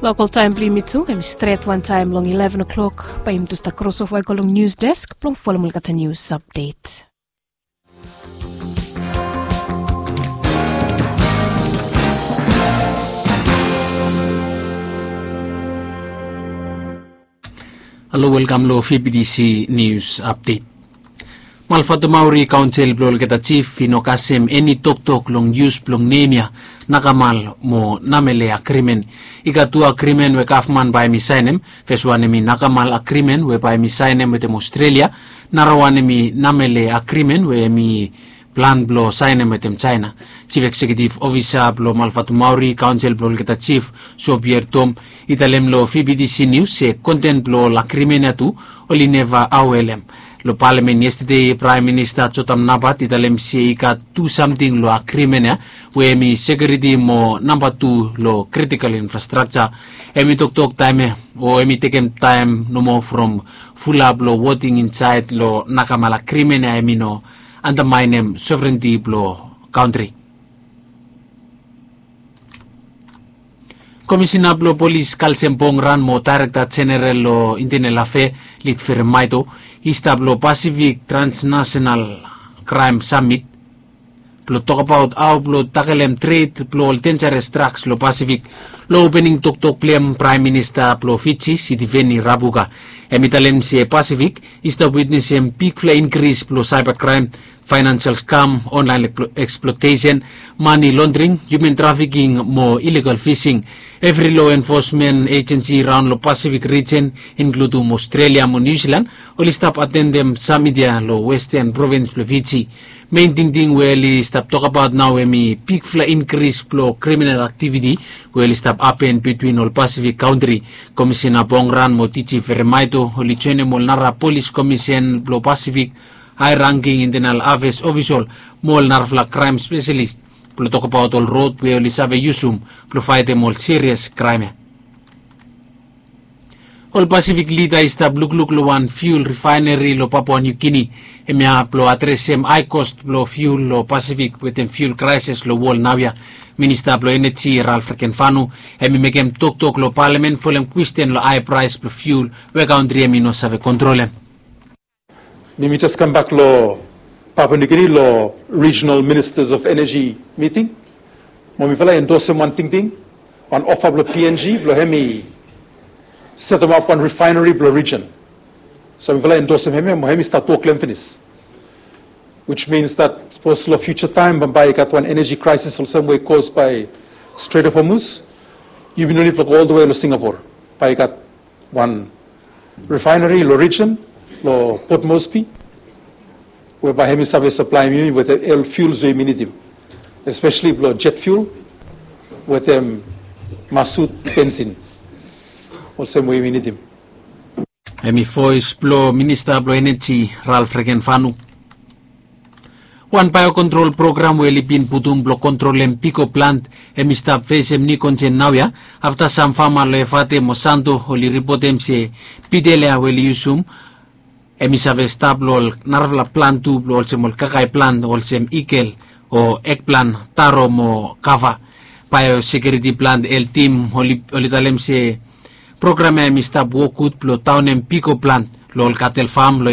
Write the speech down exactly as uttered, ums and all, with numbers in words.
Lokal taem blong yumi tu hem i stret wantaem long eleven o'clock. Bae yumi tu stap krosova i go long nius desk blong folem olgeta nius apdet. Halo, welkam long fibidisi nius apdet. Malfatumauri kaonsel blong olgeta jif i no kasem eni toktok long yus blong nem ya nakamal mo namele agrimen. I gat tu agrimen we gavman bae hem i saenem. Feswan hem i nakamal agrimen we bae hem i saenem wetem Aostralia. Narawan hem i namele agrimen we hem i plan blong saenem wetem jaena. Jif ekseketif ofisa blong malfatumauri kaonsel blong olgeta jif, sobier tom, i talem long fibidisi nius se konten blong ol agrimen ya tu oli neva aoelem. Long palamen yestade praem minista jotam nabat i talem se i gat tu samting long agrimen ya we hem i sekiuriti mo namba tu long kritikal infrastrakja. Hem i toktok taem ya o hem i tekem taem nomo from fulap long woting insaed long nakamal agrimen ya hem i no andamaenem sovrenti blong kantri. Komisina blong polis kalsem bongran mo daerekta jeneral long intenel afe, lid feremaeto, i stap long pasifik transnasenal kraem samit blong tokabaot hao blong takelem tred blong ol denjares draks long pasifik. Long opening toktok blong hem praem minista blong fiji sitiveni rabuka, hem i talem se pasifik i stap witnesem bigfala inkris blong saeba kraem, faenansial skam, onlaen eksplotesen, mani londring, hiuman trafiking mo ilegal fising. Evri lo enfosmen ejensi raon long pasifik rijen, inkludum Aostralia mo Niu Silan, oli stap atendem samit ya long westen provins blong Fiji. Mein tingting we oli stap tokabaot nao hem i bigfala inkris blong kriminal aktiviti we oli stap hapen bitwin ol pasifik kantri. Komisina Bongran mo Tiji Feremaito oli joenem ol nara polis komisen blong pasifik, hae rangking intenal afes ofisol mo ol narafala kraem speselis blong tokabaot ol rod we oli save yusum blong faetem ol sirias kraem ya. Ol pasifik lida i stap lukluk long wan fiul rifaeneri long Papua Niu Gini, hemia blong adresem hae kost blong fiul long Pasifik wetem fiul kraesis long wol naoia. Minista blong eneji Ralf Rekenfanu hem i mekem toktok long palamen folem kwesten long hae praes blong fiul we kantri hem i no save kontrolem. Mi mi jes kambak long Papua New Guinea long Regional Ministers of Energy miting. Mo mifala i endosem wan tingting, wan ofa blong P N G blong hem i setemap wan refinery blong rijen. So mifala i endosem hemia mo hem i stat wok long hem finis. Which means that sapos long future time bambae i gat wan energy crisis olsem we i caused by Strait of Hormuz, yumi no nid blong go oltawe long Singapore. Bae i gat wan refinery long rijen, long Port Moresby, we bae hem i save saplaem yumi wetem ol fuels we yumi nidim, espeseli blong jet fuel wetem masut bensin, olsem we yumi nidim. Hem i voes blong minista blong eneji Ralf Rekenfanu. Wan baeokontrol program we oli bin putum blong kontrolem pigo plant hem i stap fesem niu konsen naoia afta sam fama long Efate mo Santo oli ripotem se pidel ya we oli yusum hem i save stap long ol narafala plant tu blong olsem ol kakae plant olsem ikel o ekplan, taro mo kava. Baeosekiuriti plant heltim oli talem se program ya hem i stap wok gud blong daonem pigo plant long ol katel fam